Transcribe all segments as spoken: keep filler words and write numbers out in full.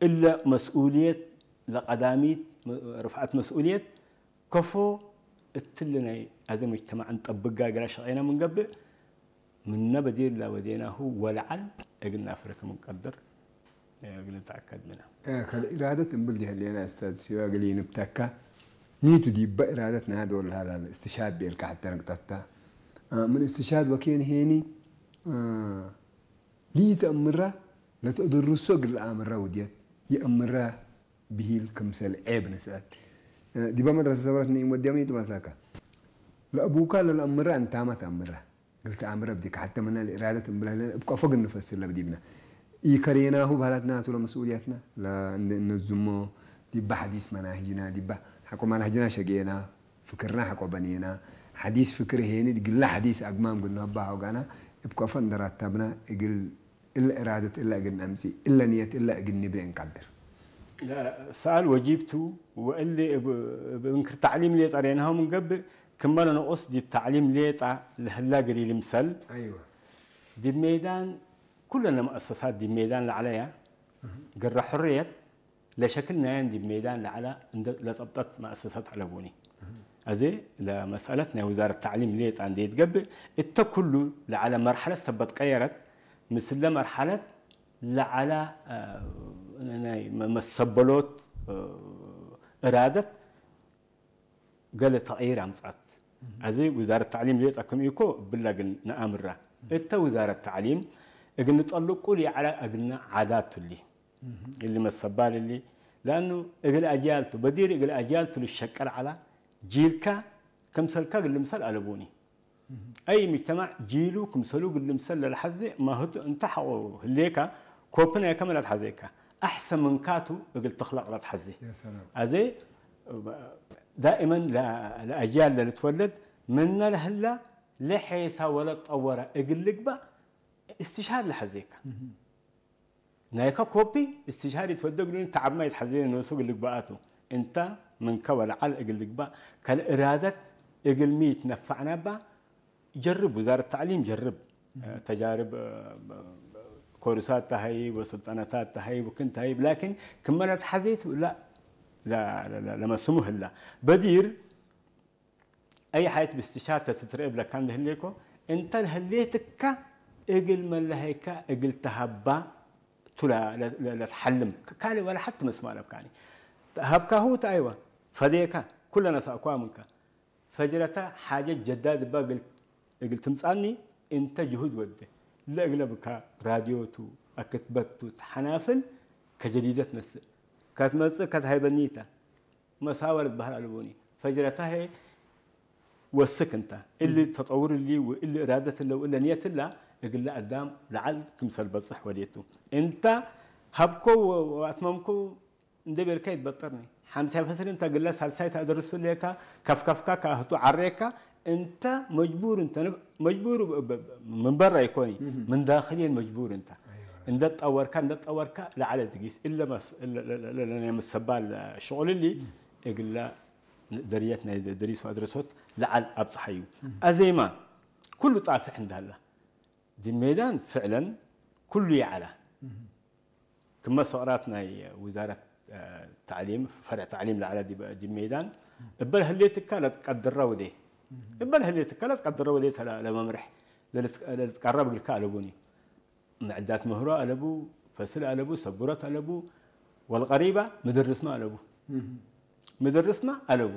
እለ መስኡልየት ለቀዳሚት ርፍዐት መስኡልየት ከፎ እትሊ ናይ አዜ ሙጅተማዕ እንጠብጋ እግል አሸቄነ ምን ገብእ፣ ምነ በዲር ለወዴናሁ ወለዐል እግል ናፍረ ክም እንቀድር እግል ንትአከድ ምነ። ከልኢራደት እምብል ዲህ ህሌነ እስታዝ ሲዋ እግል ኢንብተካ፣ ሚቱ ዲበ ኢራደት ናይ ዶል ሀላል እስትሻድ ቤልካ ሐተ ንቅጠት ተ። ምን እስትሻድ ወኬን ሄኒ፣ ለኢተአምራ ለተአደርሶ እግል ለአምራ ውድየት፣ የአምራ ብሂል ክምሰል ዔብ ንስአት። ዲበ መድረሰ ሰበረት ነኢም ወድያም ኢትመሳካ። ለአቡካ ለለአምራ እንታመ ተአምራ። እግል ተአምረ ብዲከ ሐተ ምነ ለኢራደት እምብለ ህለ እብ ቀፎ እግል ንፈስር ለብዲብነ። ኢከሬናሁ በህለትነ ቱ ለመስኡልየትነ ለእንነዝሞ ዲበ ሐዲስ መናህጅና ዲበ ሐቆ መናህጅና ሸጌና። ፍክርና ሐቆ በኔና፣ ሐዲስ ፍክር ሄኒ እግለ ሐዲስ አግማም እግል ንሀባ ሆጋና፣ እብ ከፎ እንደ ረተብና፣ እግል እለ እራደት እለ እግል ነምጽእ፣ እለ ንየት እለ እግል ንብሬ እንቀድር። ሰኣል ወጂብ ቱ፣ ወእሊ እብ፣ እብ እንክር ተዕሊም ሌጠ ሬናሁ ምን ገብእ፣ ክመ ለንቁስ ዲብ ተዕሊም ሌጠ ለህላ እግል ኢልምሰል፣ አይወ። ዲብ ሜዳን፣ ኩለን ለመአሰሳት ዲብ ሜዳን ለዐለያ፣ እህ። ግረ ሕርየት፣ ለሸክል ናየን ዲብ ሜዳን ለዐለ እንዴ ለጠብጠት መአሰሰት ዐለቡኒ። አዜ ለመስአለት ናይ ውዛረት ተዕሊም ሌጣ እንዴ ኢትገብእ፣ እተ ኩሉ ለዐለ መርሐለት ሰበት ቀየረት፣ ምስለ መርሐለት ለዐለ፣ አ፣ ናይ መ-፣ መሰበሎት፣ አ፣ እራደት፣ ገሌ ተቅይር አምጽአት። አዜ ውዛረት ተዕሊም ሌጠ ክም ኢኮ እብለ እግል ነአምራ። እተ ውዛረት ተዕሊም እግል ንጠልቁ ለዐለ እግልነ ዓዳት ቱ እሊ። እሊ መሰባል እሊ፣ ለአኑ እግል አጅያል ቱ፣ በዲር እግል አጅያል ቱ ልሸቀል ዐላ፣ ጂልካ ክምሰልካ እግል ልምሰል አለቡኒ። አይ ሙጅተማዕ ጂሉ ክምሰሉ እግል ልምሰል ለለሐዜ ማህቱ እንተ ሐቆ ህሌካ፣ ኮፒ ናይከ መ ለትሐዜካ፣ አሕሰን ምንካቱ እግል ትክለቅ ለትሐዜ። ያ ሰላም። አዜ ዳእመን ለ-፣ ለአጅያል ለልትወለድ ምነ ለህላ ለሔሳ ወለትጠወረ እግል ልግባእ እስትሻር ለሐዜካ። ናይከ ኮፒ እስትሻር ኢትወደግ ሉኒ፣ ተዐብማ ኢትሐዜ ኖሱ እግል ልግበአቱ። እንተ ምንከ ወለዐል እግል ልግበእ፣ ከልእራደት እግል ሚ ኢትነፈዕናባ፣ ጀርብ፣ ውዛረት ተዕሊም ጀርብ። ተጃርብ፣ ኮርሳት ተሀይብ ወስልጠነታት ተሀይብ ወክን ተሀይብ፣ ላኪን ክመ ለትሐዜት ላ፣ ላ፣ ላ፣ ላ፣ ለመስሙ ህላ። በዲር፣ አይ ሐየት ብስትሻር ተትትረኤ እብለካ እንዴ ህሌኮ፣ እንተ ለህሌትካ እግል መለሀይካ እግል ተሀባ ቱ ለ-፣ ለ-፣ ለ-፣ ለትሐልም። ካልእ ወለ ሐቲ መስሙ አለብካኒ። ተሀብካሁ ተ አይወ፣ ፈዴካ፣ ኩለ ነሰእኳ ምንከ። ፈጅረተ ሓጀት ጀዳድ እባ እግል፣ እግል ትምጻኒ እንተ ጅሁድ ወዴ። ለእግለ ብካ ራድዮ ቱ፣ አክትበት ቱ፣ ተሐናፍል ከጀዲደት ነስእ። ከትመጽእ ከትሀይበኒ ተ። መሳወር ልትበህል አለቡኒ። ፈጅረታ ህዬ ወስክ እንተ። እሊ ተጠውር እሊ ወእሊ እራደት እለ ወእለ ንየት እለ እግለ አዳም ለዐል ክምሰል በጽሕ ወዴቱ። እንተ ሀብኮ ወአትመምኮ እንዴ ቤልካ ኢትበጥርኒ። ሐምሳይ ፈስል እንተ እግለ ሳልሳይ ተአደርሱ ሌካ፣ ከፍከፍካ ከአህቱ ዐሬካ፣ እንተ መጅቡር እንተ፣ መጅቡር ብ-፣ ብ-፣ ምን በረ ኢኮኒ፣ እህ። ምን ዳክልየን መጅቡር እንተ። አይዋ። እንደ ጠወርካ፣ እንደ ጠወርካ ለዐለ ድጊስ፣ እለ መስ-፣ እለ፣ እለ፣ እለ፣ እለ ናይ ምሰባል ሽቁል እሊ፣ እህ። እግለ ደርየት ናይ ደሪስ ወአድረሶት ለዐል አብጽሐዩ። እህ። አዜማ ኩሉ ጣፍሕ እንደ ሀላ። ዲብ ሜዳን ፍዕለን ኩሉ ይዐለ። እህ። ክመ ሰቅራት ናይ ውዛረት፣ አ፣ ተዕሊም፣ ፈርዕ ተዕሊም ለዐለ ዲብ፣ ዲብ ሜዳን፣ እበ ለህሌትካ ለትቀድረ ወዴ። እበ ለህሌትካ ለትቀድረ ወዴ ተ ለ-፣ ለመምርሕ ለልት-፣ ለልትቀረብ እግልካ አለቡኒ። ምዕዳት ምህሮ አለቡ፣ ፈስል አለቡ፣ ሰቡረት አለቡ፣ ወልቀሪባ ምድርስመ አለቡ። ምድርስመ አለቡ።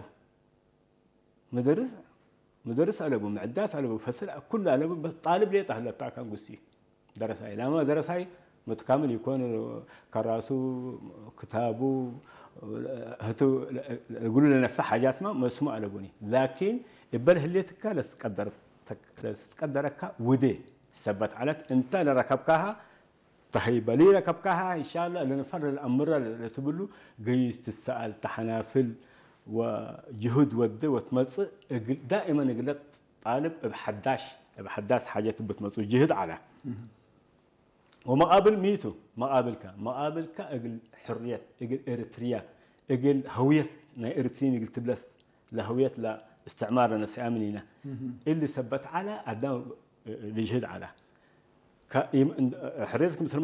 ምደርስ፣ ምደርስ አለቡ፣ ምዕዳት አለቡ፣ ፈስል ኩሉ አለቡ፣ በስ ጣልብ ሌጠ ህለታ ካን ጉሲ ደረሳይ። ላማ ደረሳይ መትካምል ይኮን፣ ከራሱ፣ ክታቡ፣ ህቱ እግሉ ለነፈ ሓጃትማ መስሙ አለቡኒ። ላኪን እበል ህሌትካ ለትቀደር-፣ ለትቀደረካ ውዴ ሰበት ዐለት እንተ ለረከብካሃ ተሀይበ ሊረ ከብካሀ፣ እንሻላ ለነፈር ለልአምረ ለትብሉ፣ ገይስ ትሰአል፣ ተሐናፍል ወጅሁድ ወዴ ወትመጽእ፣ እግል፣ ዳእመን እግለ ጣልብ እብ ሐዳሽ፣ እብ ሐዳስ ሓጀት እብ ትመጽኡ ጅህድ ዐለ። እህ። ወመቃብል ሚቱ፣ መቃብልካ፣ መቃብልካ እግል ሕርየት፣ እግል ኤርትርያ፣ እግል ሀውየት ናይ ኤርትሪን እግል ትብለስ፣ ለሀውየት ለእስትዕማር ለነስአ ምኒነ። እህ። እሊ ሰበት ዐለ፣ አዳም ልጅህድ ዐለ። ከ-፣ ኢም-፣ እንድ-፣ ሕርየት ክምሰል